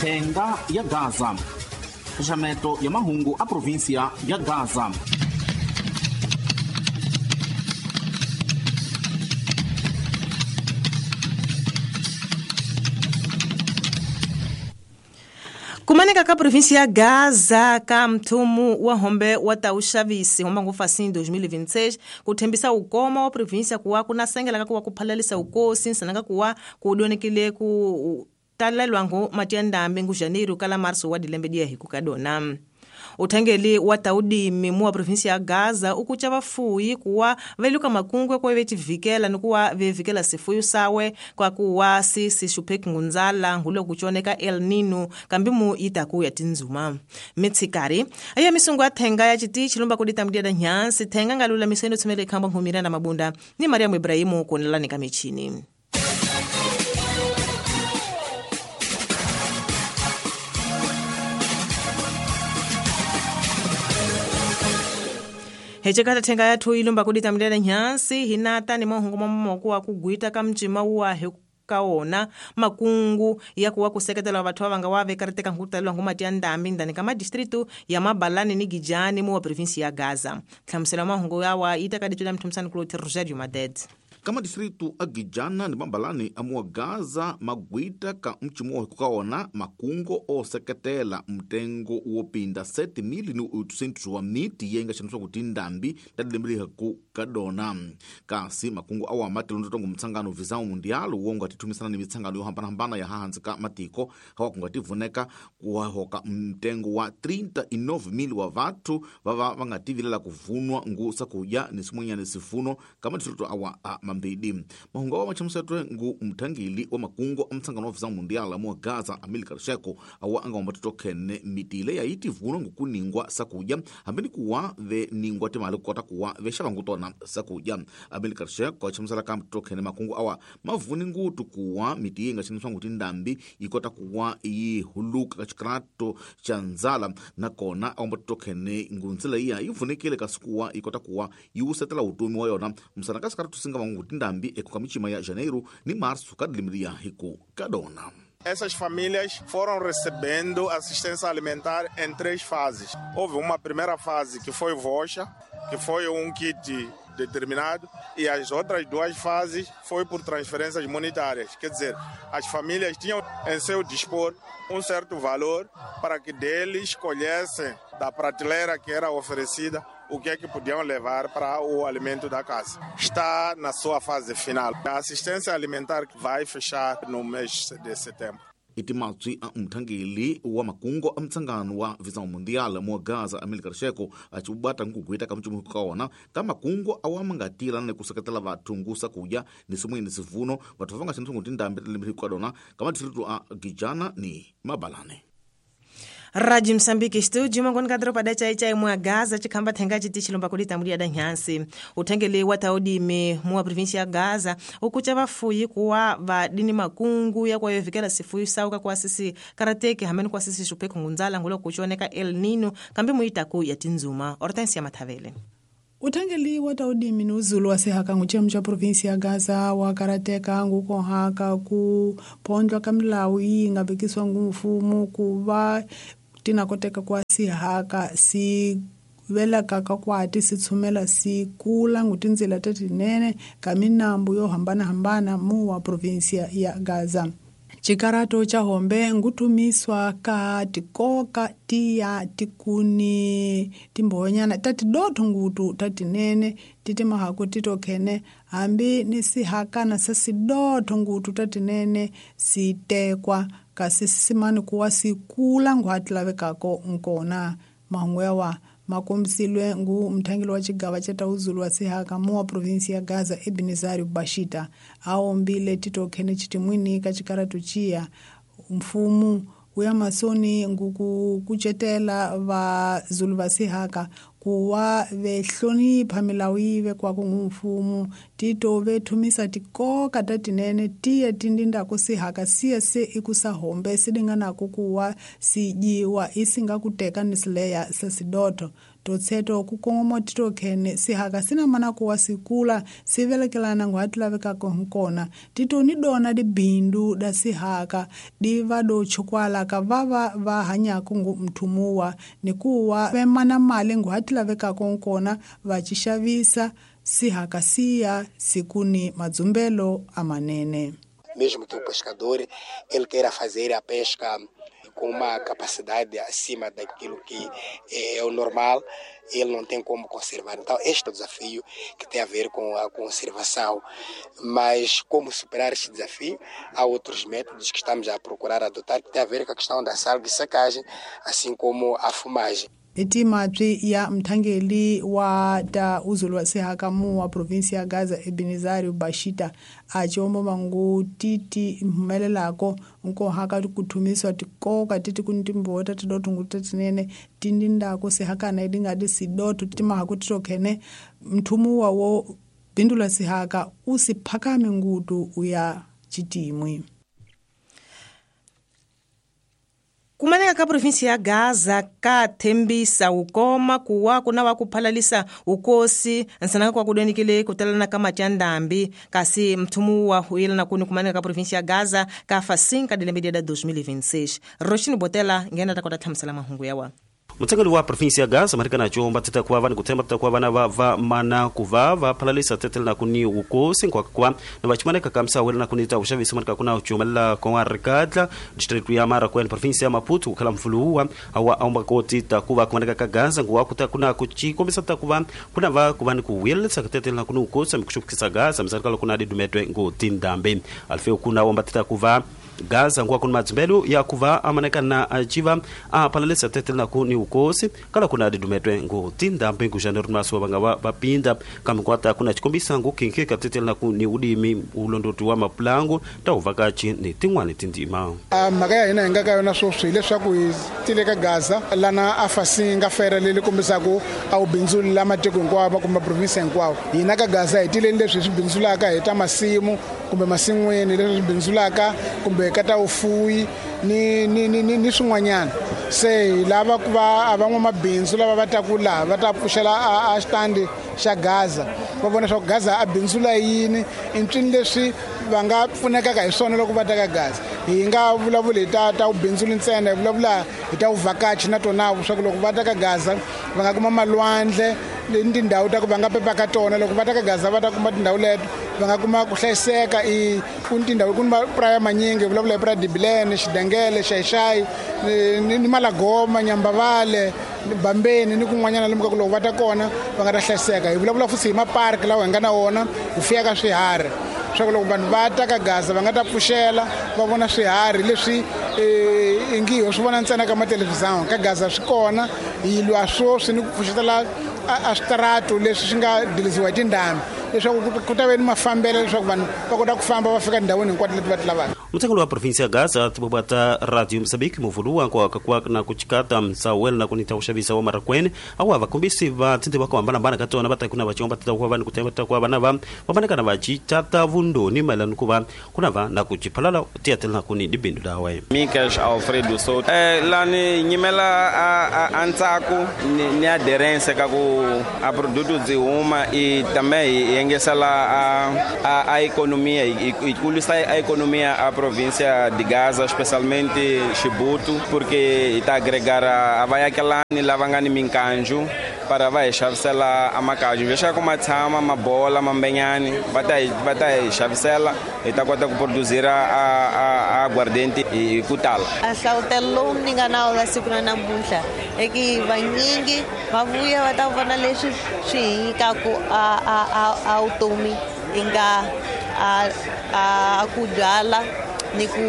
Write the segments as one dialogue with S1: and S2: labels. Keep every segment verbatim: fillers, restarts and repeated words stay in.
S1: Thenga ya Gaza, xaxameto ya mahungu a provinsia ya Gaza.
S2: Kumaneka ka província ya Gaza ka mthumu wa hombe wa tauxavisi homba ngopfu assim dois mil e vinte e seis ku thembisa ukoma wa província kuwa ku na sengela ka kuwa ku phalalisa ukosi nsananga kuwa ku donekile ku talelwa ngo mati ya ndambi ngu janeiro kala março wa dilembe dia hiku kadona. Uthengeli wa taudimi mu wa província ya Gaza ukucha vafuyi kuwa veluka makungwe kwa vetivikela nikuwa vevikela sifuyu sawe kwa kuwa sisi shupheki ngunzala ngulo kuchoneka El Nino kambi mu itaku ya tinzuma mitsikari aya misungu ya thenga ya chiti chilumba kudita mdia da nyansi thenga ngalula miseno tsumele khamba nkhumira na mabunda ni Mariamu Ibrahimu konelani kamichini. Hechekata thenga yathu ilumba kudita mdela nyansi hinata ni mahungu mamoko wa kugwita ka mcima wa kaona makungu ya kuwa kuseketela vathu vanga wa vekariteka nkutalelwa ngumati ya ndambi ndani ka madistritu ya Mabalani ni Gijani mu wa província ya Gaza. Hlamusela mahungu yawa itaka ditula mthumsani kuloti Rogerio Maded.
S1: Kama distritu a Gijana ni Mabalani amuwa Gaza magwita ka mchimo kukaona makungo oseketela mtengo wopinda sete mil ni oitocentos wa miti yenga xaniswa kuti ndambi tadilembeliha ku kadona. Kasi makungo awa matilondo tongo mtsangano visão mundial wonga tithumisana ni mitsangano yo hambanahambana ya hahansi ka matiko hawa kungativuneka kuwahoka mtengo wa trinta e nove mil wa vathu vava vangativilela kuvunwa ngu sakuya ni simwenyani sifuno kama distritu awa a mambidi. Mahungu awa machamusetwe ngu mthangili wa makungo a mtsangano wa visão mundial amuwa Gaza Amilcar Sheko awa anga wambatitokhene mitile yaiti vunwa ngukuningwa sakuya hambeni kuwa veningwa timali kukota kuwa vexavangutona sakuya. Amilcar Sheko achamusela ka mtitokhene makungu awa mavuni ngutu kuwa miti yenga xaniswa nguti ndambi ikota kuwa yi huluka ka xikrato xa ndzala nakona awambatitokhene ngunzila iya yi vunekile kasi kuwa ikota kuwa yi wusetela vutomi wa yona musana ka xikaratu singa vangu ndambi ekuka michima ya janeiro ni março ka dilimiria hiku kadona.
S3: Essas famílias foram recebendo assistência alimentar em três fases. Houve uma primeira fase que foi voucher, que foi um kit determinado, e as outras duas fases foi por transferências monetárias. Quer dizer, as famílias tinham em seu dispor um certo valor para que deles escolhessem da prateleira que era oferecida o que é que podiam levar para o alimento da casa. Está na sua fase final. A assistência alimentar vai fechar no mês de setembro.
S1: Itimatswi a mthangeli wa makungo a mtsangano wa visão mundial mu Gaza Amilcar Sheko achibata nkugwita ka mchumu kaona ka makungo awa mangatila ne kuseketela vathu ngusa kuya ni simweni sivuno vathu vanga xaniswa nguti ndambi lembe kadona ka madistritu a Gijana ni Mabalane.
S2: Rádio Moçambique Estúdio, mangoni ka dropa da chai chai mwa Gaza chikhamba thenga chiti chilomba kulita mulia da nyansi. Uthengele wa taudime mwa província ya Gaza ukucha vafuyi kuwa vadini makungu ya kwa yovikela sifuyu sauka kwa sisi karateke hameni kwa sisi shupheko ngunzala ngulo kuchoneka El Nino kambi muitaku ya tinzuma. Hortensia Mathavele.
S4: Uthengeli wa taudimi ni uzulu wasehaka nguchemu cha província ya Gaza wakarateka ngukohaka ku pondlwa ka milawu yi nga vekisiwa ngu mfumo ku va tinakoteka kwa sihaka si velaka ka kwati si tshumela si kula ngutindzila tatinene ka minambu yo hambanahambana mu wa província ya Gaza. Chikarato cha hombe nguthumiswa ka tikoka tiya tikuni timbhonyana tatidotho ngutu tatinene titimahaku titokhene hambi ni sihakana sa sidotho ngutu tatinene sitekwa kasi sisimani kuwa sikula nguhati lavekako nkona. Mahungu yawa makombisilwe ngu mthangeli wa xigava xa tauzulu wa sihaka mu wa província ya Gaza Ebenezari Bashita aombile titokhene chitimwini ka xikaratu chiya mfumo wu ya masoni nguku kucetela vazulu va sihaka kuwa vehlonipha milawu yi vekwaka ngu mfumo tito vethumisa tikoka tatinene tiya tindindako sihaka siya se ikusa hombe silinganako kuwa sijiwa isinga kuteka ni sileya sa sidotho Totseto ku kongoma titokhene sihaka sina mana kuwa sikula sivelekelana ngu hatilavekako nkona tito ni dona dibindu da sihaka diva do chukwala ka vava va hanyako ngu mthumuwa ni kuwa vemana mali ngu hatilavekako nkona vacixavisa sihaka siya sikuni madzumbelo amanene.
S5: Mesmo que o pescador ele queira fazer a pesca com uma capacidade acima daquilo que é o normal, ele não tem como conservar. Então, este é o desafio que tem a ver com a conservação. Mas como superar este desafio? Há outros métodos que estamos a procurar adotar, que tem a ver com a questão da salga e secagem, assim como a fumagem.
S4: Etimatwi ya mthangeli wa ta uzulu wa sihaka mu wa provinsi ya Gaza Ebenezario Bashita achombo mangu titi mhumelelako nkohaka kuthumiswa tikoka titi kuntimbota tidotunguta tinene tindindako sihaka na idingadi sidoto timahaku titokhene mthumuwa wo bindula sihaka usiphakame ngutu uya chitimwi.
S2: Kumaneka ka provinsi ya Gaza ka thembisa ukoma kuwa kuna wa kuphalalisa ukosi nsanaka kwa kudenikile kutalana ka machandambi kasi mthumu wa huyelana kuni kumaneka ka provinsi ya Gaza ka fa cinco de media da dois mil e vinte e seis. Roshini Botela ngena takota thamsala mahungu yawa.
S6: Mutengeli wa provinsi ya Gaza marikana chomba teta kwa vani kutemba teta kwa vana va va mana kuva va phalalisa tetela na kuni ukosi kwa kwa na vachimaneka kamsa wela na kunita ushavisi marika kuna uchumela kwa rikadla district ya Mara kwa provinsi ya Maputo kukala mfuluwa awa aomba koti takuva kumaneka ka Gaza ngwa kuta kuna kuchikombisa takuva kuna va kuvani kuwelesa tetela na kuni ukosi mkushukisa Gaza msarikala kuna didumetwe ngotindambe alfeo kuna omba teta kuva Gaza ngwa kuna madzimbelu ya kuva amaneka na achiva apalalisa tetela na kuni ukosi kala kuna didumetwe ngotinda mpengu janeiro maso banga bapinda kamkwata kuna chikombisa ngukinke katetela na kuni udimi ulondoti wa mapulango tauvakachi ni tingwani tindima
S7: mhaka ya hina hi nga ka yona sweswi hileswaku hi tile ka Gaza lana a fasinga fera leli kombisaku a wu bindzuli la matiko hinkwawo kumbe province hinkwawo. Hina ka Gaza hi tileni leswi hi swi bindzulaka hi ta masimu kumbe masin'wini leswi swi bindzulaka kumbe ka ta vufuwi ni ni ni ni swin'wanyana. Se hi lava ku va a van'wamabindzu lava va taku laha va ta pfuxela a xitandi xa Gaza va vona swa ku Gaza a bindzula yini i ncini leswi va nga pfunekaka hi swona loko va ta ka Gaza. Hi nga vulavuli hi ta ta vubindzuli ntsena, hi vulavula hi ta vuvhakachi na tona swa ku loko va ta ka Gaza va nga kuma malwandle ni tindhawu ta ku va nga pepaka tona. Loko va ta ka Gaza va ta kuma tindhawu leto va nga kuma ku hlayiseka. I ku ni tindhawu ku ni mapuraya manyingi, hi vulavula hi puraya Dibilene, Xidengele, Xaixai ni ni Malagoma, Nyambavale, Bambeni ni kun'wanyana lomu ka ku loko va ta kona va nga ta hlayiseka. Hi vulavula futhi hi maparki lawa hi nga na wona hi fuyaka swiharhi swa ku loko vanhu va ta ka Gaza va nga ta pfuxela va vona swiharhi leswi i ngi ho swi vona ntsena ka mathelevhizani. Ka Gaza swi kona, hi lwa sweswi ni ku pfuxetela a switaratu leswi swi nga dilisiwa hi tindhambi leswaku ku ta ve ni mafambelo leswaku vanhu va kota ku famba va fika tindhawini hinkwato leti va ti lavaka.
S6: Mutengeli wa provinsi ya Gaza tibobata Radio Mozambique muvuluwa kwa kwa na kuchikata msawel na kunita ushavisa wa marakwene awa vakombisi va tindi va kuhambana katona va kuna vachomba tita kwa vani kutemba tita kwa vana va vamaneka na vachitata vundoni maelano kuva kuna va na kuchiphalala tiyatela na kuni dibindu dawe.
S8: Mikas Alfredo Souto eh, lani nyimela a, a, a ntsako ni, ni aderência ka ku a produto byi huma e também yengesela a, a, a economia e, e kulisa a economia a província de Gaza, especialmente Chibuto, porque está agregar a, a vai aquela ni lavangani minkanjo para vai xavisela a makaju veja como a tshama mabola mambenyani vai vai xavisela e tá kota ku produzir a a a aguardente e kutala.
S9: A hlawutelo ni nga na la siku na namuntlha e ki vanyingi va vuya va ta vona leswi swi hi nyikaku a a a a vutomi inga a a ku byala ni ku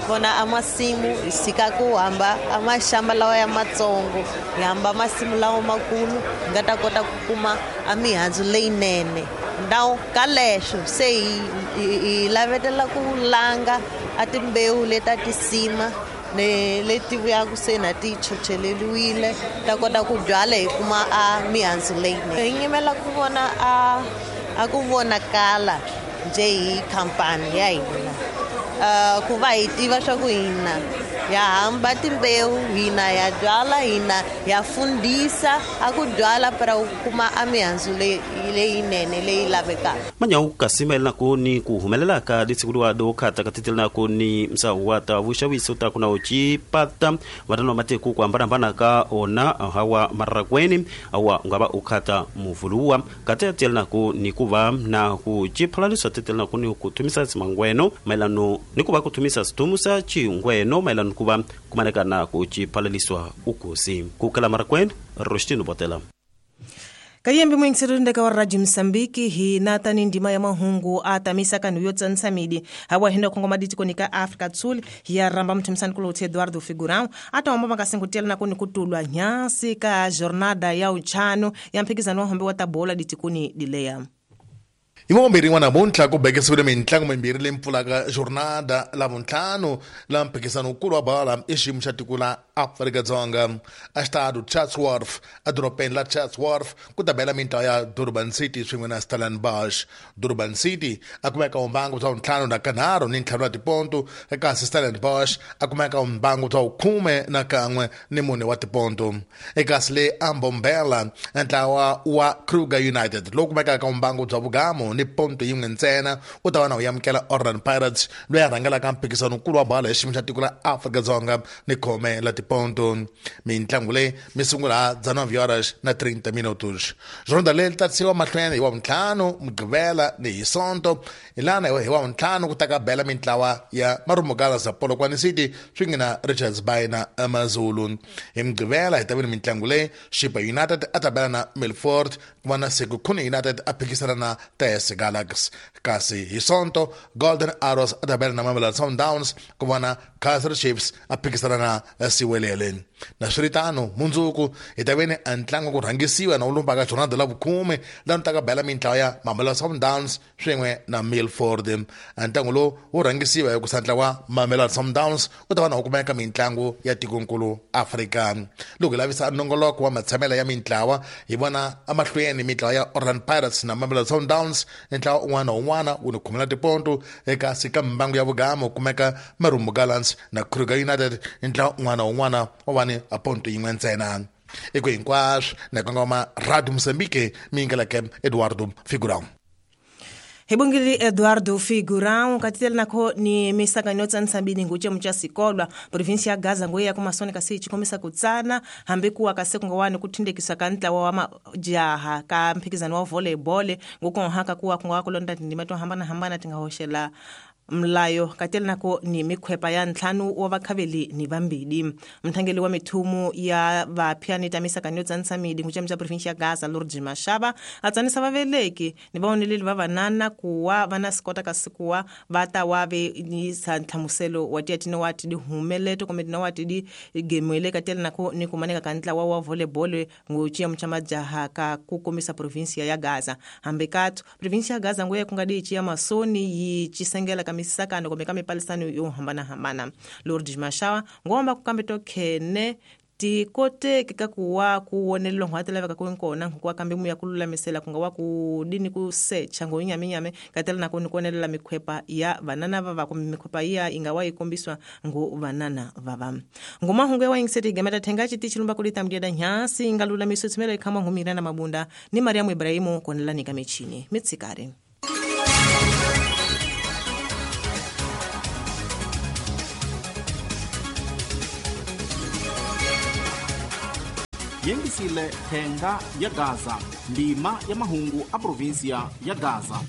S9: vona amasimu hi sika ku hamba amaxamba lawa ya matsongo hi hamba masimu lawa makulu hi nga ta kota ku kuma a mihandzu leyinene. Ndhawu ka leswo se hi hi lavetela ku langa a timbewu leta tisima ne leti vuyaku se na ti chocheleliwile ta kota ku byala hi kuma a mihandzu leyinene. Hi nyimela ku vona a a ku vonakala njhe hi khampani ya hina. uh, ku va hi tiva swa ku hina ya hamba timbewu, hina ya byala, hina ya fundisa a ku byala para u kuma a mihandzu leyinene leyi lavekaka.
S6: Manyawu kasi mayelana ku ni ku humelela ka ditshikuliwa do khata ka titelana ku ni msawu wa ta vuxaviso ta ku na ucipata vatano wa matiko ku hambanahambana ka ona hawa marakweni awa ungava u khata muvuluwa kati ya telana ku ni ku va na ku ciphalaliswa titelana ku ni ku thumisa tsimangweno mayelano ni ku va ku thumisa sithumusa chingweno mayelano ku va kumaneka na ku ciphalaliswa ukosi ku kala marakweni Rostino Botela.
S2: Kayembe mwingisirindeka wa Radio Msambiki hi natani ndima ya mahungu atamisa kanu yotsanisa midi hawa hino kongoma ditiko nika Afrika Tsuli ya ramba mtumsani kulo Eduardo Figurão ata wamba makasingutiela na kuni kutulwa nyasi ka jornada ya uchano ya mphikizano wa hombe wa tabola ditikuni dilea.
S10: Ivombiri n'wana namuntlha ku bekisiwile mintlangu mimbirhi leyi pfulaka jornada lavuntlhanu la mphikizano wukulu wa bala i xiyimo xa tiko la Afrika-Dzonga a xitado Chatsworth edorobeni la Chatsworth ku ta bela mintlawa ya Durban City swin'we na Stellenbosch. Durban City a kumeka mbangu bya ntlhanu na kanharhu ni ntlhanu wa tiponto, kasi Stellenbosch a kumeka mbangu bya khume na kan'we ni mune wa tiponto. Ekasi le Ambombela ntlawa wa Kruger United lowu kumekaka mbangu bya vugamo ni ponto yin'we ntsena u ta va na u amukela Orlando Pirates loyi a rhangelaka mphikizano wukulu wa bala hi xiyimo xa tiko la Afrika-Dzonga ni khome la tiponto. Mintlangu leyi mi sungula dezenove horas na trinta minutos. Jornada leyi ta tsiwa mahlweni hi wavuntlhanu Mugqivela ni hi Sonto hi lana hi wavuntlhanu ku ta ka bela mintlawa ya Marumo Gallants na Polokwane City swin'we na Richards Bay na AmaZulu. Hi Mugqivela hi ta vona mintlangu leyi Chippa United a ta bela na Milford ku va na Sekhukhune United a phikisana na T S Galaxy, kasi hi Sonto Golden Arrows a ta bela na Mamelodi Sundowns ku va na Kaizer Chiefs a phikisana na Siwelele. Na swiritano mundzuku hi ta veni a ntlangu ku rhangisiwa na wu lumbaka jornada la vukhume laha ta ka bela mintlawa ya Mamelodi Sundowns swin'we na Milford. A ntlangu lowu wu rhangisiwa hi ku sa ntlawa Mamelodi Sundowns u ta va na wu kumeka mintlangu ya tikonkulu Afrika. Loko hi lavisa nongoloko wa matshamelo ya mintlawa hi vona emahlweni mintlawa ya Orlando Pirates na Mamelodi Sundowns ntlawa un'wana na un'wana wu ni khumela tiponto, ekasi ka mbangu ya vugamo kumeka Marumo Gallants na Kruger United ntlawa un'wana na un'wana wa va ni a ponto yin'we ntsena. Eko hinkwaswo na kongoma Radio Mozambique mingeleke Eduardo Figurão.
S2: Hibungili Eduardo Figurão katitela nako ni misaka nyotsa nsambini nguche mcha sikolwa provinsi ya Gaza ngoya kumasoni kasi chikomisa kutsana hambi kuwa kase kungawani kutindekisa kantla wa majaha ka mphikizano wa volleyball nguko haka kuwa kungawa kulonda ndima to hambana hambana tingahoshela mlayo katela nako ni mikhwepa ya ntlhanu wa vakhaveli ni vambili. Mthangeli wa mithumu ya vaphyani tamisa kanyotsa nsamidi nguche mcha provinsi ya Gaza Lourdes Mashaba atsanisa vaveleki ni vaoneleli va vanana kuwa vana sikota kasikuwa vata wave ni sa ntlhamuselo wa tiya tino wati di humeleto kumbe tino wati di gemwele katela nako ni kumaneka kantla wa wa volleyball nguche mcha majaha ka kukomisa provinsi ya Gaza. Hambe kathu provinsi ya Gaza ngoya kungadi chiya masoni yi chisengela misakano komeka mipalisano yo hambana hambana. Lourdes Mashawa ngomba kukambe tokhene tikote kikakuwa kuwonelelo ngwatela vaka kunkona ngwa kambe muya kululamisela kungawa kudini kusecha ngoinyaminyame katela nako nikonelela mikhwepa ya vanana vava kumbe mikhwepa iya ingawa ikombiswa ngo vanana vava. Ngoma hungu wa ingiseti gemeta thenga chiti chilumba kulita mdiada nyasi ingalulamiso tsimela ikhama ngumira na mabunda ni Mariamu Ibrahimu konela nika michini mitsikare.
S1: Yengisile thenga ya Gaza ndima ya mahungu a provinsia ya Gaza.